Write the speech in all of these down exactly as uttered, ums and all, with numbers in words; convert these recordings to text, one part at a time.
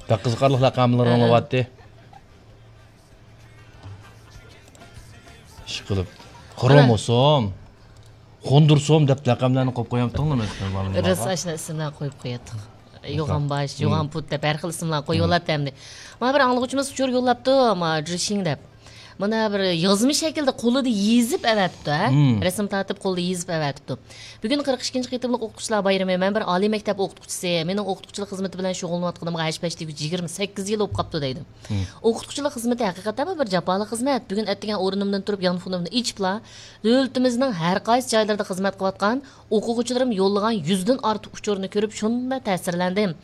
بەك قىزىقارلىق لەقەملىرىڭ بولۇۋاتتى. ئىشقىلىپ، خروموسوم، خوندروسوم دەپ لەقەملەرنى قويۇپ قويامتىڭلار مەسىلەن، بالىلارغا؟ راست، ئاشۇنداق ئىسىملار قويۇپ قوياتتۇق. يوغان باش، يوغان پۇت دەپ ھەر خىل ئىسىملار قويۇۋالاتتى ئەمدى. مانا بىر ئاڭلىغۇچىمىز ئۇچۇر يوللاپتۇ، ما جىشىڭ دەپ. مانا بىر يازما شەكىلدە قولىدا يېزىپ ئەۋەتىپتۇ، ھە؟ رەسىم تارتىپ قولىدا يېزىپ ئەۋەتىپتۇ. بۈگۈن قىرىق ئىككىنچى قېتىملىق ئوقۇتقۇچىلار بايرىمى. مەن بىر ئالىي مەكتەپ ئوقۇتقۇچىسى. مېنىڭ ئوقۇتقۇچىلىق خىزمىتى بىلەن شۇغۇللىنىۋاتقىنىمغا ھەش پەش دېگۈچە يىگىرمە سەككىز يىل بولۇپ قاپتۇ دەيدۇ. ئوقۇتقۇچىلىق خىزمىتى ھەقىقەتەنمۇ بىر جاپالىق خىزمەت. بۈگۈن ئەتىگەن ئورنۇمدىن تۇرۇپ يانفونۇمنى ئېچىپلا، دۆلىتىمىزنىڭ ھەر قايسى جايلىرىدا خىزمەت قىلىۋاتقان ئوقۇغۇچىلىرىم يوللىغان يۈزدىن ئارتۇق ئۇچۇرنى كۆرۈپ شۇنداق تەسىرلەندىم.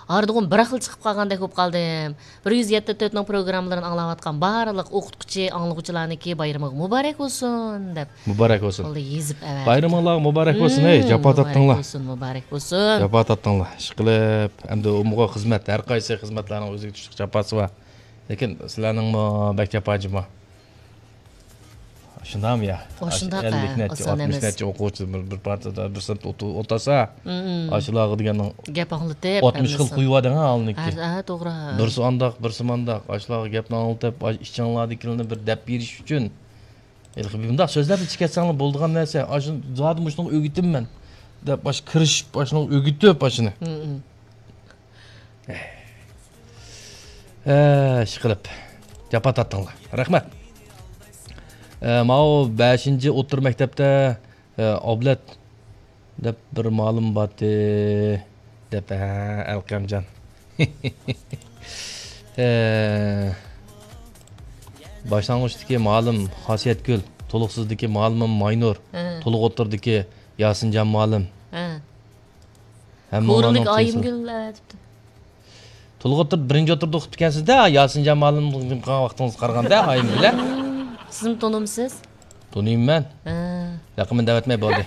ھاردىغۇم بىر خىل چىقىپ قالغاندەك بولۇپ قالدىم. بىر يۈز يەتتە تۆتنىڭ پروگراممىلىرىنى ئاڭلاۋاتقان بارلىق ئوقۇتقۇچى، ئاڭلىغۇچىلارنىڭكى بايرىمىغا مۇبارەك بولسۇن دەپ مۇبارەك بولسۇن. قولدا يېزىپ ئەۋەتىپتۇ. بايرىمىڭلارغا مۇبارەك بولسۇن، ھەي، جاپا تارتتىڭلار. مۇبارەك بولسۇن، مۇبارەك بولسۇن. جاپا تارتتىڭلار. ئىشقىلىپ، ئەمدى ئومۇمغا خىزمەت، ھەر قايسى خىزمەتلەرنىڭ ئۆزىگە چۈشلۈك جاپاسى بار. لېكىن سىلەرنىڭمۇ بەك جاپا جىما. شۇنداقمۇ يا؟ ئۇ شۇنداق، ئەللىك ھە، نەچچە، ئاتمىش نەچچە ئوقۇغۇچى بىر، بىر پارتىدا، بىر سىنىپتا ئولتۇرسا، ئاشۇلارغا دېگەننىڭ گەپ ئاڭلىتىپ، ئاتمىش خىل ھەممىسى. قويۇۋەردىڭ ھە، ئالنىكى. ھە، ھە، توغرا. بىرسى ئانداق، بىرسى مانداق. ئاشۇلارغا گەپنى ئاڭلىتىپ، ئاش-، ئىچىڭلاردىكىلەرنى بىر دەپ بېرىش ئۈچۈن. ھېلىقى بۇنداق سۆزلەپ چىقىۋەتسەڭلار بولىدىغان نەرسە. ئاشۇ زادى مۇشۇنىڭغا ئۆگىتىمەن دەپ، ئاشۇ كىرىشىپ، ئاشۇنىڭغا ئۆگىتىپ، ئاشۇنى. ئە، ئىشقىلىپ، جاپا تارتتىڭلار. رەھمەت. ئە، ماۋۇ بەشىنچى ئوتتۇرا مەكتەپتە، ئە، ئابلەت دەپ بىر مۇئەللىم بارتى، دەپ، ھە، ئەلقەمجان. ئە، باشلانغۇچتىكى مۇئەللىم خاسىيەتگۈل، تولۇقسىزدىكى مۇئەللىمىم ماينۇر، ھە. تولۇق ئوتتۇرىدىكى ياسىنجان مۇئەللىم. ھە. ھەممىڭلارنىڭ كورلىك ئايىمگۈل، ھە، دەپتۇ. تولۇق ئوتتۇرىدا بىرىنچى ئوتتۇرىدا ئوقۇپتىكەنسىز-دە، ياسىنجان مۇئەللىم قىلغان ۋاقتىڭىزغا قارىغاندا، ئايىم بىلەن. سىزمۇ تونۇمسىز؟ تونۇيمەن. ھە. ياقىمەن دەۋەتمەي بولدى.